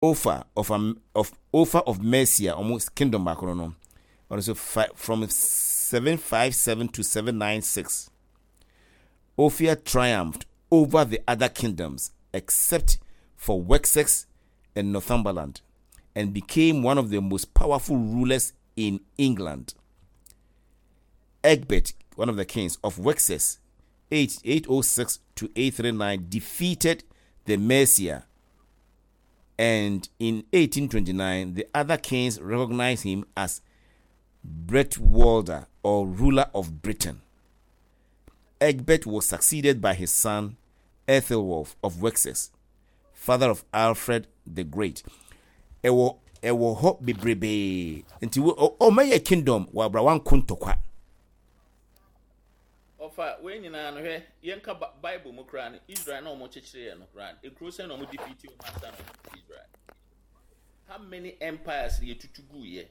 Offa of of Offa of Mercia, wɔn kingdom baako no no, ɔno nso from 757 to 796. Offa triumphed over the other kingdoms except for Wessex and Northumberland and became one of the most powerful rulers in England. Egbert, one of the kings of Wessex, 8, 806 to 839, defeated the Mercia and in 1829 the other kings recognized him as Bretwalda or ruler of Britain. Egbert was succeeded by his son Ethelwulf of Wessex, father of Alfred the Great. Ɛwɔ ɛwɔ hɔ bebrebee nti wo ɔmɛyɛ kingdom wɔ abra wanko ntɔkwa. Ɔfa wei nyinaa no hwɛ yɛnka Bible mu koraa no Israel na wɔn kyekyere yɛ no koraa no ekuro sɛn na wɔn defeat wɔn ansa na wɔn Israel. How many empires na yɛtutu gu yɛ?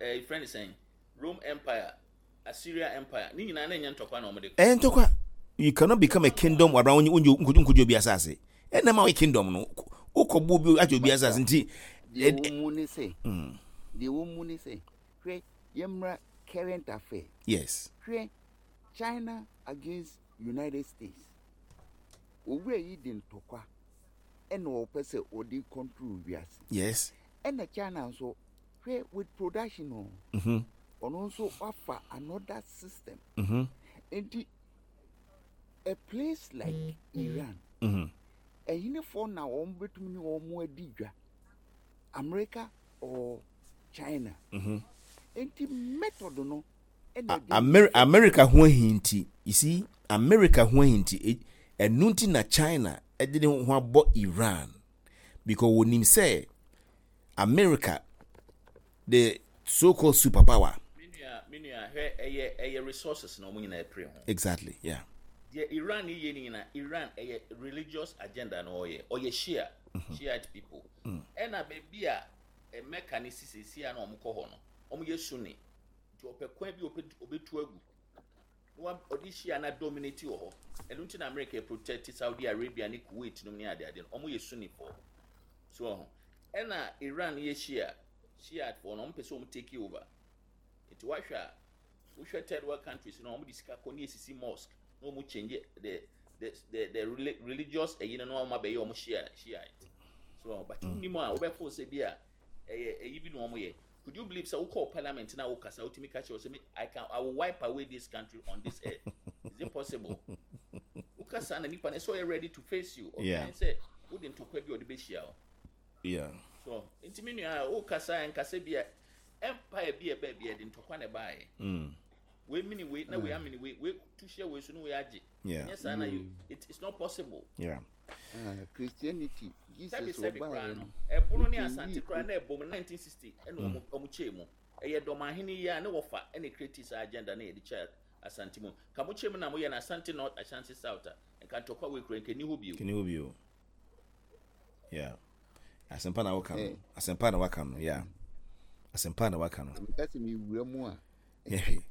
Ɛɛ friend sɛn Rome Empire, Assyria Empire ne nyinaa na ɛnyɛ ntɔkwa na wɔn de kɔ. Ɛyɛ ntɔkwa. You cannot become a kingdom wabra wonye wonye nkojo obi asase. Ɛna ma wɔyɛ kingdom no. Wokɔ bu obi agye obi asase nti. Deɛ wɔn mu ne sɛ. Deɛ wɔn mu ne sɛ. Hwɛ yɛmmra current affair. Yes. Hwɛ China against United States. Owura yi de ntɔkwa ɛna ɔpɛ sɛ ɔde control wiase. Yes. Ɛna China nso hwɛ with production o. Ɔno nso wafa another system. Nti a place like Iran. Ɛhenefoɔ na wɔn bɛtumi ne wɔn adi dwa? America or China. Nti method no ɛna ɛde. Amer America ho ahi nti, you see, America ho ahi nti, ɛno nti na China ɛde ne ho abɔ Iran because wɔnim sɛ America the so called superpower. Me nua, me nua, hwɛ ɛyɛ ɛyɛ resources na wɔn nyinaa pere ho. Exactly, yeah. Deɛ Iran yɛ ne nyinaa, Iran ɛyɛ religious agenda na ɔyɛ, ɔyɛ Shia, Shiite people. Ɛna baabi a Mecca ne si seesia na wɔn kɔ hɔ no, wɔn yɛ Sunni. Nti ɔpɛ kwan bi ɔbɛtu agu. Na ɔde Shia na dominate wɔ hɔ. Ɛno nti na America protect Saudi Arabia ne Kuwait nom ne adeade no, wɔn yɛ Sunni foɔ. So ɔho. Ɛna Iran yɛ Shia, Shiite foɔ no, wɔn pɛ sɛ wɔn take over. Nti wahwɛ a, wohwɛ third world countries no, wɔn de sika kɔ ne esisi mosque na wɔn change the religious ɛyi no na wɔn abɛyɛ wɔn Shia Shiite. So but mm. nim a wobɛfo sɛ bi a ɛyɛ ɛyi bi na wɔn yɛ. Could you believe sɛ wokɔ parliament na wokasa wotumi ka kyerɛ sɛ me I will wipe away this country on this earth. Is it possible? Wokasa na nipa no sɛ ɔyɛ ready to face you. Yeah. Ɔbɛn sɛ wode ntɔkwa bi a ɔde bɛhyia wo. Yeah. So nti me nua wokasa nkasa bi a empire bi a ɛbaa bi a ɛde ntɔkwa na ɛbaeɛ. Wei mini wei na wei amini wei wei tu hyɛ wei so na wei agye. Yeah. Nyɛ saa na you it's not possible. Yeah. Ah, Christianity, Jesus Sɛbi sɛbi ɔbaeɛ koraa no. no ɛbono ne ɔkyɛngii Asante koraa na ɛbom 1960 ɛna ɔmo ɔmo kyɛɛ mu. Ɛyɛ dɔmahene yi a ne wɔfa ɛna create saa agenda na yɛde kyɛ Asante mu. Ka mo kyɛ mu na moyɛ no Asante North Ashanti South a nka ntɔkwa wei koraa nka ɛni hɔ bio. Kini hɔ bio. Yeah. Asɛmpa na woka no. Eh. Asɛmpa na waka no. Yeah. Asɛmpa na waka no. Meka sɛ mewura mu a Yɛhwɛ.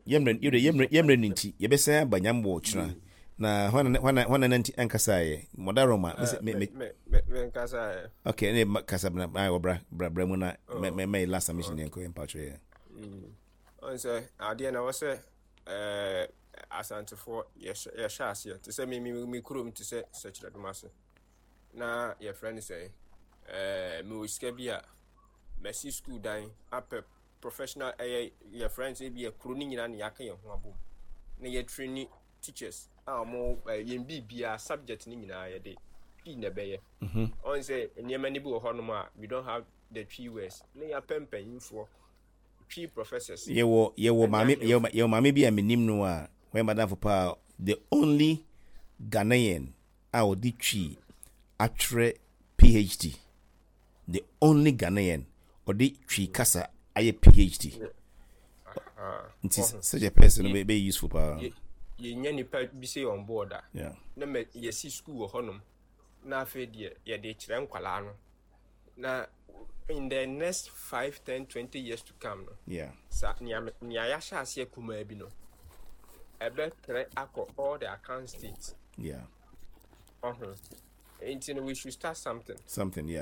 Yɛmmerɛ no nti yɛbɛsan aba nyam wɔ kyena. Na hwana hwana hwana na nti ankasa yɛ. Mɔda Roma. Me me me nkasa ɛ. Okay, ne kasa bra bra bra bra bra mu na me me me last submission yɛn kɔ yɛn patro yɛ. Ɔn sɛ adeɛ na wɔ sɛ ɛɛ Asantefoɔ yɛhyɛ aseɛ te sɛ me me me kurom te sɛ Sɛkyerɛdom ase na yɛfrɛ no sɛ ɛɛ mewɔ sika bi a mɛsi school dan apɛ professional ɛyɛ yɛfrɛ no sɛ bi yɛ kuro no nyinaa na yɛaka yɛn ho abom na yɛtrain teachers a wɔn yɛn biribiara subject no nyinaa yɛde pii na ɛbɛyɛ. Ɔn sɛ nneɛma no bi wɔ hɔnom a we don't have the Twi words na yɛapɛ mpanyinfoɔ Twi professors. Yɛwɔ maame yɛwɔ maame bi a menim no a wɔyɛ madamfo paa, the only Ghanaian a ɔde Twi atwerɛ PhD, the only Ghanaian ɔde Twi kasa ayɛ PhD. Nti such a person no bɛyɛ useful paa. Yɛnya nipa bi sɛ on board a na yɛsi school wɔ hɔnom na afei deɛ yɛde kyerɛ nkwalaa no na in the next 5 10 20 years to come no sa nea nea yɛahyɛ aseɛ kumaa bi no ɛbɛtrɛ akɔ all the Akan states. Yeah. Ɔho. Nti no we should start something. Something, yeah.